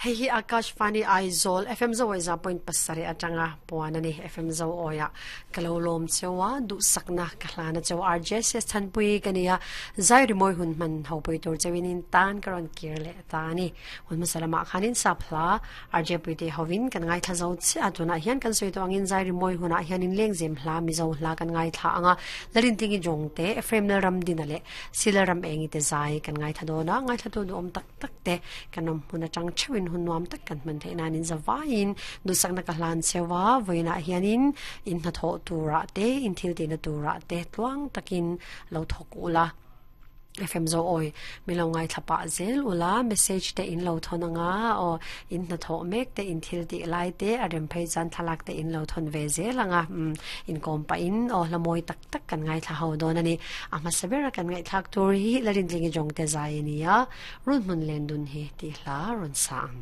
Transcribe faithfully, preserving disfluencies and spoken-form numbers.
Hei hi Akashvani Aizawl F M Zo za point pasarih atanga puan ani F M Zo oya kalo lom chewa du sakna kahlana chewa R J S Thanpui kania zai rimoi hun man ho pui tur chewin tan karon kirle ta ani hun masalama khanin sapla R J Puite hovin kan ngai tha zo chi atuna hian kan soi to angin zai rimoi huna hian in leng zem hla mi zo hla kan ngai tha anga lalin tingi jongte F M ram dinale silaram engi te zai kan ngai tha do na ngai tha to du om tak tak te kanom huna chang chewin hun nuam tak kan man theina nin zawain du sakna ka hlan chewa voina hianin in na tho tura te in thil te na tura te tluang takin lo thok ula F M zo oi milo ngai thapa zel ula message te in lo thon anga o in na tho mek te in thil ti lai te arem phei chan thalak te in lo thon ve zel anga in kom pa in o lamoi tak tak kan ngai tha ho don ani ama sabera kan ngai thak tur hi larin tlingi jong te zai nia run mun len dun hi ti hla run sang.